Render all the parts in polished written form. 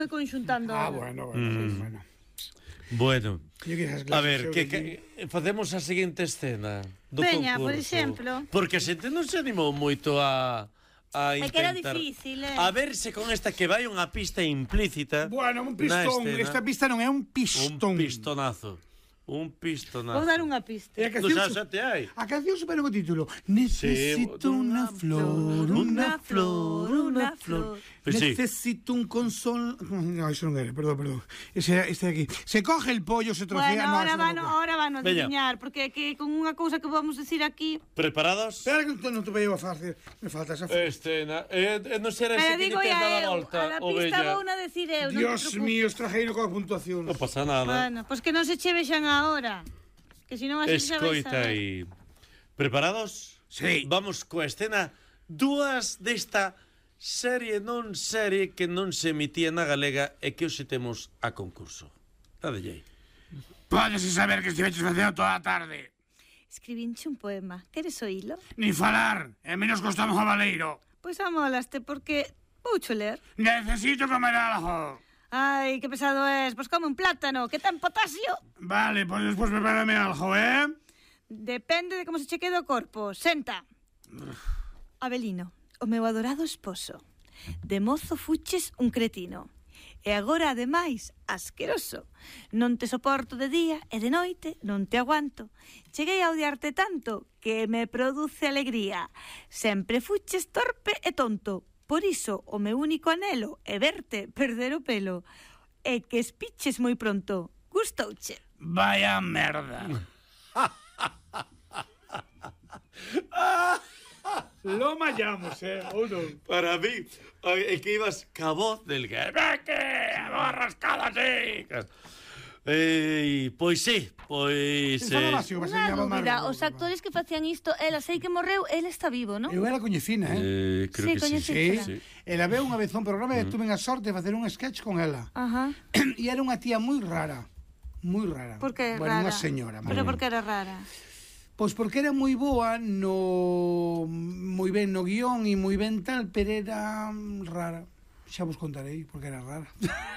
conxuntando. Bueno. Bueno, a ver, que facemos a seguinte escena do Veña, concurso. por exemplo. Porque a xente non se animou moito a É que era intentar... difícil, A verse con esta que vai unha pista implícita. Bueno, un pistón. Esta pista non é un pistón. Un pistonazo. Un pistonazo. Vou dar unha pista. E a canción, xa te hai. a canción supera o título. Necesito unha flor, unha flor, unha flor. Pues sí. Necesito un consol... No, eso non era, perdón. Este de aquí. Se coge el pollo, se trocea... Bueno, no, ahora van a adivinar, porque que con unha cousa que vamos decir aquí... Preparados? Espera que non te veo a facer. Me falta esa flor. Non será ese que te has dado a volta, a la pista vou na decir eu. Dios mío, estrajeiro coa puntuación. Non pasa nada. Bueno, pois que non se che vexan agora. Que si non así xa vais a Escoita ver. aí. Preparados? Sí. Vamos coa escena dúas desta serie que non se emitía na galega e que hoxe temos a concurso. Adellei. Pódese saber que estiveches facendo toda a tarde. Escribinche un poema. Queres oílo? Ni falar, e menos costamos o baleiro. Pois amolaste, porque voucho ler. Necesito comer algo. Ai, que pesado es. Pois come un plátano, que ten potasio. Vale, pois despois prepárame algo, Depende de como se che quede o corpo. Senta. Abelino, o meu adorado esposo. De mozo fuches un cretino. E agora, ademais, asqueroso. Non te soporto de día e de noite non te aguanto. Cheguei a odiarte tanto que me produce alegría. Sempre fuches torpe e tonto. Por iso, o meu único anhelo é verte perder o pelo. E que espiches moi pronto. Gustouche. Vaya merda. Lo mallamos, ou non? Para mí, é que ibas ca voz del que a voz rascada así. Pois sí, pois... Unha dúbida, os actores que facían isto, ela sei que morreu, ele está vivo, non? Eu era coñecina, creo Sí, que coñecísela. sí. Ela veu unha vez a un programa e tuve a sorte de facer un sketch con ela. Ajá. E era unha tía moi rara. Moi rara. Por que bueno, rara? Unha señora. Pero por que era rara? Pois porque era moi boa moi ben no guión e moi ben tal, pero era rara. Xa vos contarei porque era rara.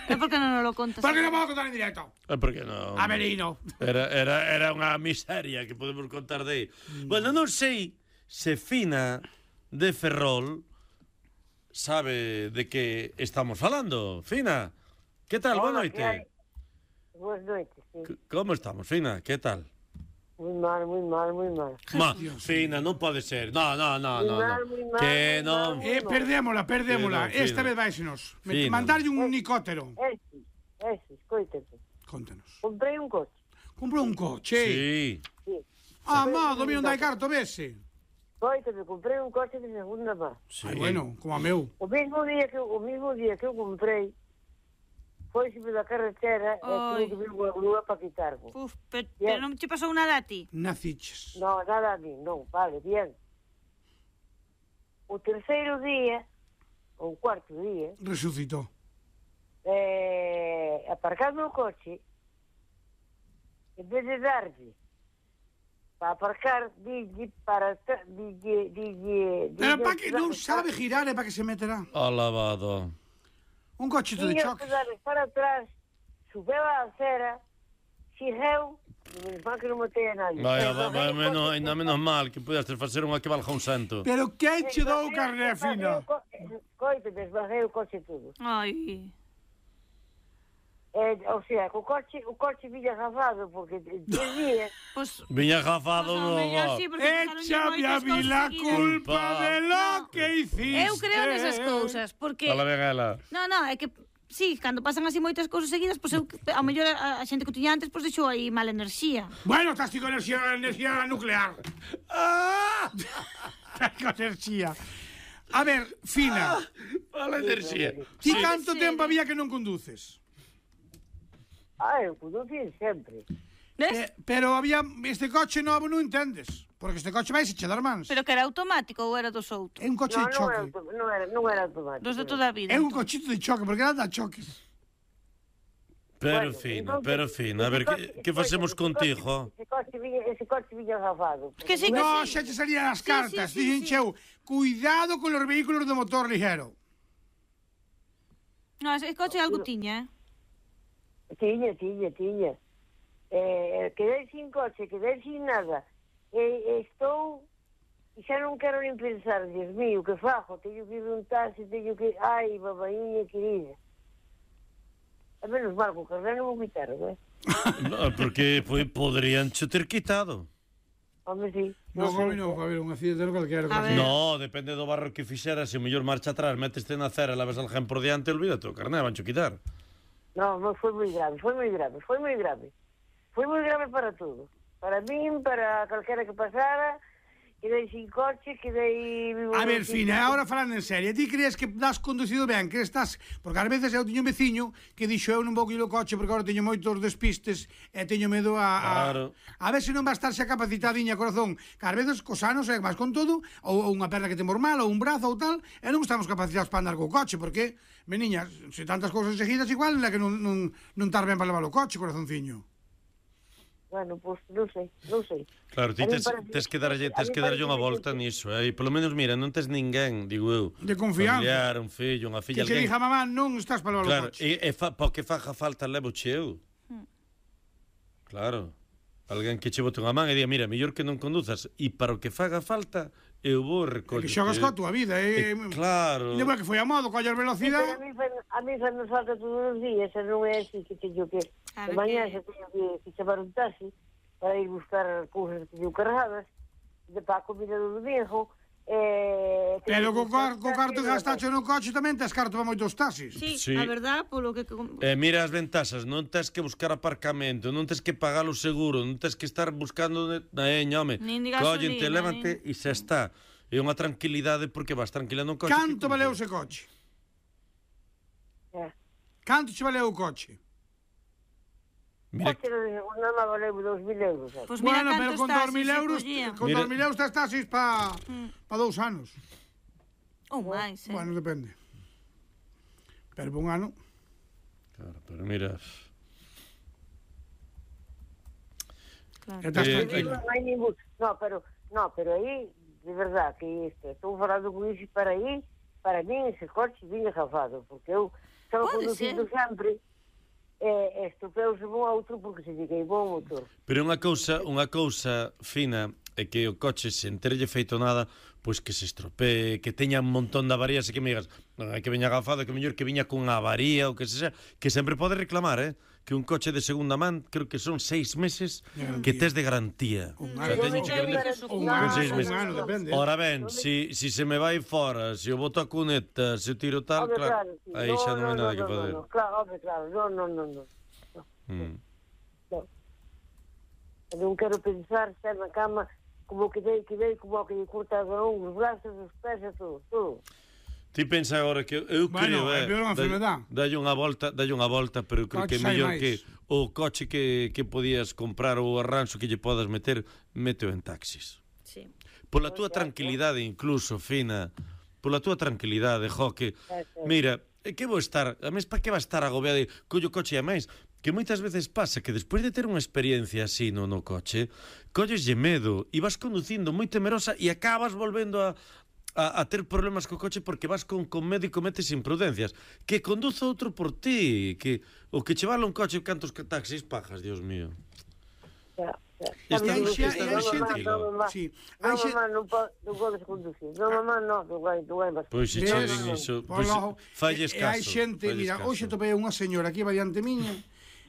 E por que non nos lo contas? Porque non vou contar en directo. Porque non? Avelino. Era unha miseria que podemos contar de aí. Bueno, non sei se Fina de Ferrol sabe de que estamos falando. Fina, que tal? Boa noite. Boas noites, sí. Como estamos, Fina? Que tal? Muy mal. Fina, non pode ser. No. Muy mal, Que non... Perdémola. Esta vez váisenos. Mandarlle un nicótero. Ese, escoítete. Contanos. Comprei un coche. Comprou un coche. Sí. Amado, mi non dai carto, vese. Escoítete, comprei un coche de segunda mano. Sí. Ai, bueno, como a meu. O mismo día que eu comprei, foi da carretera e tuve que vir unha grúa para quitarme. Pero non che pasou nada a ti? Naciches. No, nada a mí, non, vale, bien. O terceiro día, ou o cuarto día, Resucitou. aparcando o coche, en vez de darlle para aparcar, dille para... Pero para que non sabe girar, é para que se meterá. Alabado. Un cochito de choque. Darle para atrás, subeu a acera, xirreu, menos mal que non matei a nadie. Ainda menos mal que pudedes facer unha que valja un cento. Pero que che dou carne fina? Coite, desbarrei o coche todo. Ai... O sea, o coche viña gafado, porque 3 días... Viña gafado no... Échame a mí la culpa de lo que hiciste. Eu creo nesas cousas, porque... Fala ben ela. No, é que... Sí, cando pasan así moitas cousas seguidas, pois eu, ao mellor a xente que tiña antes, pois deixou aí mala enerxía. Bueno, estás con enerxía nuclear. Estás con enerxía. A ver, Fina. Mala enerxía. Ti canto tempo había que non conduces? Eu conducí sempre. Pero había este coche novo, non entendes. Porque este coche vai se che dar mans. Pero que era automático ou era dos outros? É un coche de choque. Non era automático. Dos de toda a vida. É un cochito de choque, porque anda a choques. Pero Fina, a ver, que facemos contigo? Ese coche viña gafado. No, xa te salían as cartas. Dixen cheu, cuidado con os vehículos de motor ligero. No, ese coche algo tiña, Tiña. Quedei sin coche, quedei sin nada. Estou... E xa non quero nin pensar, Dios mío, que fajo? Teño que ir un taxi, teño que... Ai, babaíña querida. A menos mal, co carné non me quitaron, No, porque podrían che ter quitado. Home, sí. Non, home, non, a ver, un accidente no calquera. A ver. No, depende do barro que fixeras. Se o mellor marcha atrás, meteste na acera e leves alguén por diante, olvídate, o carné vancho quitar. No, foi moi grave. Foi moi grave para todo. Para min, para calquera que pasara... Quedei sin coche, quedei... A ver, Fina, agora falando en serio, ti crees que das conducido ben, que estás... Porque ás veces eu teño un veciño que dixo eu non vou ir o coche porque agora teño moitos despistes e teño medo Claro. A ver se non va a estar xa capacitadiña, corazón, que ás veces cos anos é máis con todo, ou unha perna que temos mal, ou un brazo ou tal, e non estamos capacitados para andar co coche, porque, meniña, se tantas cousas seguidas igual, é que non estar ben para levar o coche, corazonciño. Bueno, pois non sei. Claro, ti tes que darlle unha volta niso, e polo menos, mira, non tes ninguén, digo eu, De confianza. familiar, un fillo, unha filla, Que alguén. dija mamá, non estás para levar Claro, o coche. porque faja falta levo eu. Claro. Alguén que che bote unha man e diga, mira, mellor que non conduzas, e para o que faga falta, eu vou recollo. Que xogas coa túa vida, Claro. Lembra que foi a modo, coller Sí, velocidade. pero a mí fa nos falta todos os días, e non é así que teño que... A De ver mañá que- xa teño que chamar un taxi para ir buscar cousas que teño cargadas, de para a comida do domingo, Pero co carto que gastacho no coche tamén tes carto para moitos taxis. Sí, Sí. a verdad, polo que... Mira as ventaxas, non tes que buscar aparcamento, non tes que pagar o seguro, non tes que estar buscando home. Nin de Collente, gasolina, lévante e xa está. É unha tranquilidade porque vas tranquila no coche. Canto valeu ese coche? Canto che valeu o coche? Mira, Coche non me valeu 2.000 euros. sabe? Pois mira Bueno, pero cantos con taxis 2.000 se euros, collían. con Mira. 2.000 euros tes taxis pa 2 anos. Ou máis, Bueno, depende. Pero por un ano. claro, pero mira, Claro. Estás Eh, tranquilo. Non hai ningún... No, pero aí, de verdad, que estou falando con iso para aí, para mí ese coche viña gafado, porque eu estaba Pode conducindo sempre e estupeuse un outro porque se lle queimou o motor. pero unha cousa fina é que o coche se enterlle feito nada, pois que se estropee, que teña un montón de avarías e que me digas, non hai que veña gafado, que mellor que viña cunha avaría ou que se xa, que sempre pode reclamar, que un coche de segunda man, creo que son 6 meses que tes de garantía. Un O sea, ano. teño que vender Un No, ano, con 6 un meses. ano, depende. Ora ben, si se me vai fora, se eu boto a cuneta, se eu tiro tal, Home, claro, sí. aí xa non hai nada que fazer. No, claro, no. Mm. Non quero pensar, estar na cama, como que dei, como que lle cortaron os brazos, os pés e todo. Ti pensa agora que eu Bueno, creo, é peor unha enfermedad. dalle unha volta, pero eu creo que é Coches hai mellor máis. que o coche que podías comprar ou o arranxo que lle podas meter, méteo en taxis. Sí. Pola túa tranquilidade incluso, Fina, pola túa tranquilidade, que mira, é que vou estar, a mes para que va estar agobiado de collo coche e máis, que moitas veces pasa que despois de ter unha experiencia así no coche, colleslle medo e vas conducindo moi temerosa e acabas volvendo a ter problemas co coche porque vas con medo e cometes imprudencias. Que conduza outro por ti, que o que che vale un coche cantos taxis pagas, Dios mío. E Está hai Está xente, tranquilo. sí, No, hai xente, mamá, non podes conducir. No, mamá, non vai vas. Pois se che din iso, pois falles e hai caso. xente, falles mira, caso. hoxe topei unha señora aquí va diante miña,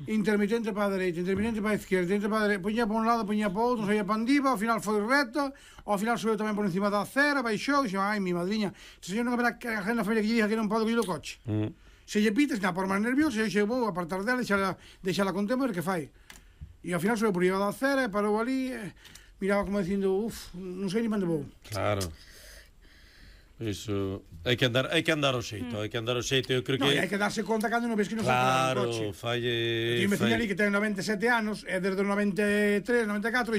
intermitente para a dereita, intermitente para a izquierda, intermitente para a dereita, poñía para un lado, poñía para outro, saía para andiva, ao final foi recta, ao final subiu tamén por encima da acera, baixou, dixo, ai, mi madriña, se señor non haberá que a gente na feria que lle diga que non pode coller o coche. Se lle pites, na por máis nervioso, e xe vou apartar dela, deixala con tempo, ver que fai. E ao final subiu por riba da acera, e parou ali, miraba como dicindo, non sei ni onde vou. Claro. Iso hai que andar ao xeito, eu creo No, que e hai que darse conta cando non ves que non se claro, o coche. falle Tiño un veciño ali que ten 97 anos, e desde os 93, 94,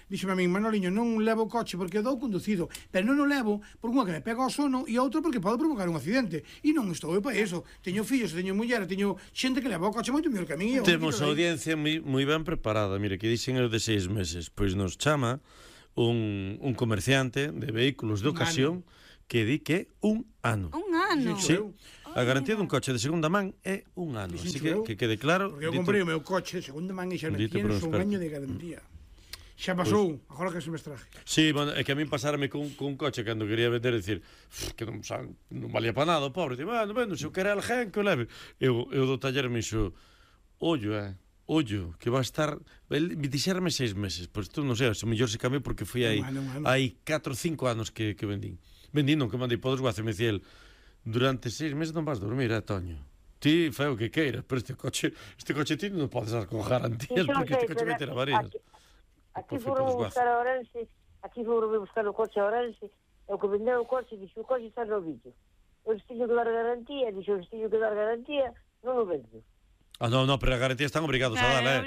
dixo a min, Manoliño, non levo o coche porque dou conducido, pero non o levo por unha que me pega o sono e outro porque pode provocar un accidente. E non estou eu para iso. Teño fillos, teño muller, teño xente que leva o coche moito mellor que a min. temos a audiencia moi ben preparada. Mire, que dixen eu de 6 meses, pois nos chama un comerciante de vehículos de ocasión que di que un ano. Un ano. Sí. A garantía dun coche de segunda man é un ano. Así que quede claro. Porque eu comprei o meu coche de segunda man e xa me Dito por un tienes un experto. año de garantía. Xa pasou, agora que se me extraje. Sí, bueno, é que a min pasarme cun coche cando quería vender, dicir, que non valía para nada, o pobre. Digo, vendo, se eu quero alguén que o leve. Eu do taller me dixo, ollo, que va a estar... Me dixerme 6 meses, pois tú non sei, se mellor se cambiou porque foi aí 4 ou 5 anos que vendín. Vendín, non, que mandei para o desguace, me dicía el, durante 6 meses non vas dormir, Toño. Ti fai o que queiras, pero este coche ti non podes dar con garantías, porque este coche vai ter avarías. Aquí foron buscar a Orense, buscar o coche a Orense, e o que vendeu o coche, dixo, o coche está no vídeo. Eu estiño que dar garantía, non o vendo. Non, pero a garantía están obrigados a dar,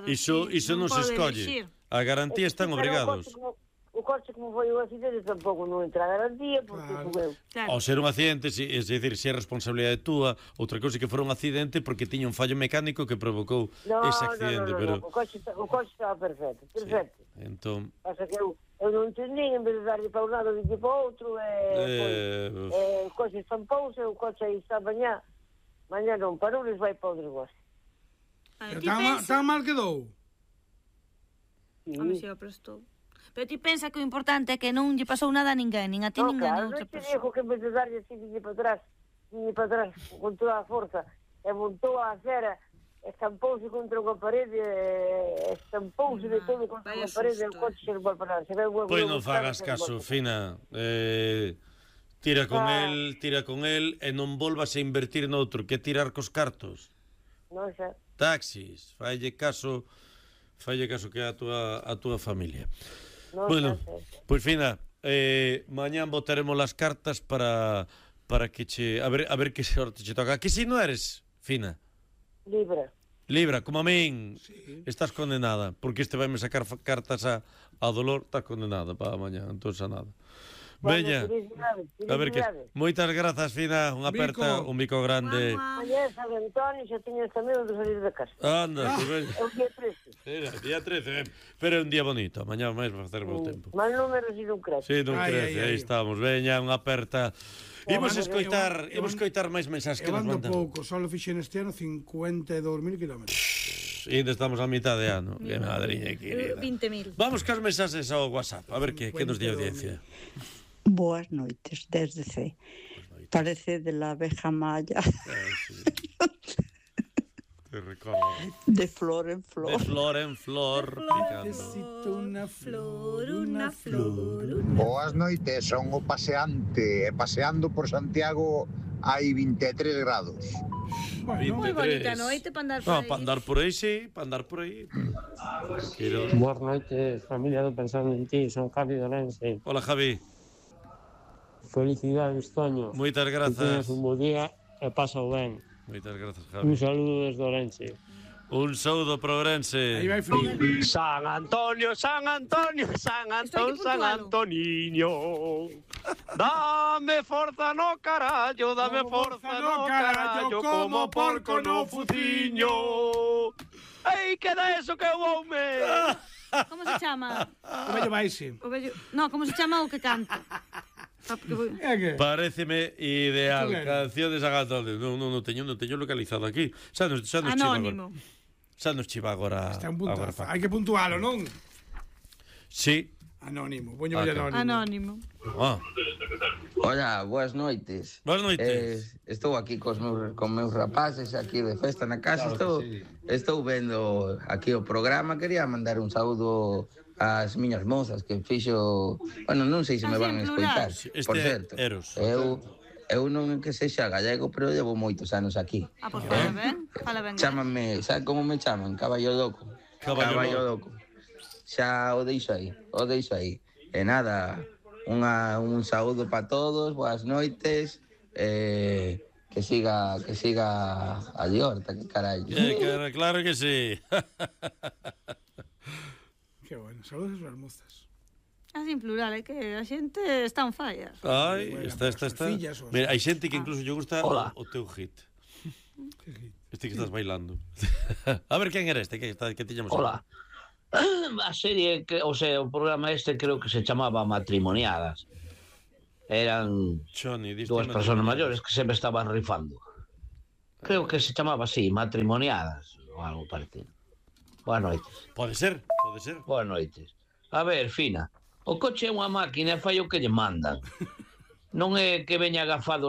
Iso non se escolle. A garantía están obrigados. O coche como foi o accidente tampouco non entra a garantía porque subeu. Ao ser un accidente, é dicir, se é responsabilidade túa, outra cousa que fora un accidente porque tiña un fallo mecánico que provocou ese accidente. No, o coche estaba perfecto. Entón... Pasa que eu non entendín, en vez de darlle para un lado, dille para outro, o coche estampouse, o coche aí está mañá non parou, les vai para o desguace. Tan mal quedou? Home, se o prestou. Pero ti pensa que o importante é que non lle pasou nada a ninguén, nin a ti, nin a outra Non te persoa. digo que en vez de darlle así, dille para atrás, con toda a forza, e montou a acera, estampouse contra unha parede, estampouse de todo contra unha parede, e o coche se non vai parar. Pois non fagas caso, Fina. Tira con el e non volvas a invertir noutro, que tirar cos cartos. Non xa. Taxis, falle caso que é a túa familia. Bueno, pois Fina, mañán botaremos as cartas para que che... A ver que sorte che toca. Que si non eres, Fina? Libra, como a min. Sí. Estás condenada, porque este vai me sacar cartas a dolor, estás condenada para mañán, entón xa nada. Veña, a ver que... Moitas grazas, Fina, unha aperta, un bico grande. Mañá San Antonio xa tiña esta medo de salir de casa. Anda, que veña. É o día 13. Era, día 13, pero é un día bonito, mañá máis vai facer bo tempo. Mal número si non crece. Si, non crece, aí estamos. Veña, unha aperta. Imos escoitar máis mensaxes que nos mandan. Eu ando pouco, só fixen este ano 52.000 kilómetros. E ainda estamos a mitad de ano. Que madriña querida. 20.000. Vamos cas mensaxes ao WhatsApp, a ver que nos di a audiencia. Boas noites, desde C. Parece de la abeja maya. Sí. Te recordo. De flor en flor. De flor en flor, picando. Necesito una flor. Boas noites, son o paseante. E paseando por Santiago hai 23 grados. Moi bonita noite para andar por aí. Para andar por aí, sí, para andar por aí. Boas noites, familia do Pensando en Ti, son Javi de Orense. Hola, Javi. Felicidades, Toño. Moitas Que grazas. teñas un bo día e pásao ben. Moitas grazas, Javi. Un saludo desde Orense. Un saúdo para Ourense. Aí vai frío. San Antonio, San Antonio, San Antón, San Antoniño. Dame forza no carallo, dame forza no carallo, como porco no fuciño. Ei, que da eso que houme? Como se chama? O vello vaise. No, como se chama o que canta? É que? Paréceme ideal. Claro. Canción de San Antonio. Non teño localizado aquí. Xa nos chiva Anónimo. agora. Xa nos chiva agora. Está un puntazo. Agora Hai que puntualo, non? Sí. Anónimo. Poño anónimo. Anónimo. Ah. Hola, boas noites. Boas noites. Estou aquí con meus rapaces aquí de festa na casa. Estou vendo aquí o programa. Quería mandar un saúdo ás miñas mozas que fixo... Bueno, non sei se me van a escoitar. Por certo, Eros. eu non é que sexa gallego, pero levo moitos anos aquí. Pues fala ben. Chámanme, sabe como me chaman? Caballo Loco. Caballo Loco. Xa o deixo aí. E nada, un saúdo para todos, boas noites, que siga a Liorta, que carallo. Claro que sí. Que bueno, saludos ás mozas. Así en plural, é que a xente está on falla. Ai, Bueno, está. fillas, Mira, hai xente que incluso lle gusta Hola. o teu hit. Este que estás bailando. A ver, quen era este? Que tiñamos? Hola. A serie, o programa este creo que se chamaba Matrimoniadas. Eran dúas persoas maiores que sempre estaban rifando. Creo que se chamaba así, matrimoniadas ou algo parecido. Boas noites. Pode ser. Boas noites. A ver, Fina, o coche é unha máquina e fai o que lle mandan. Non é que veña agafado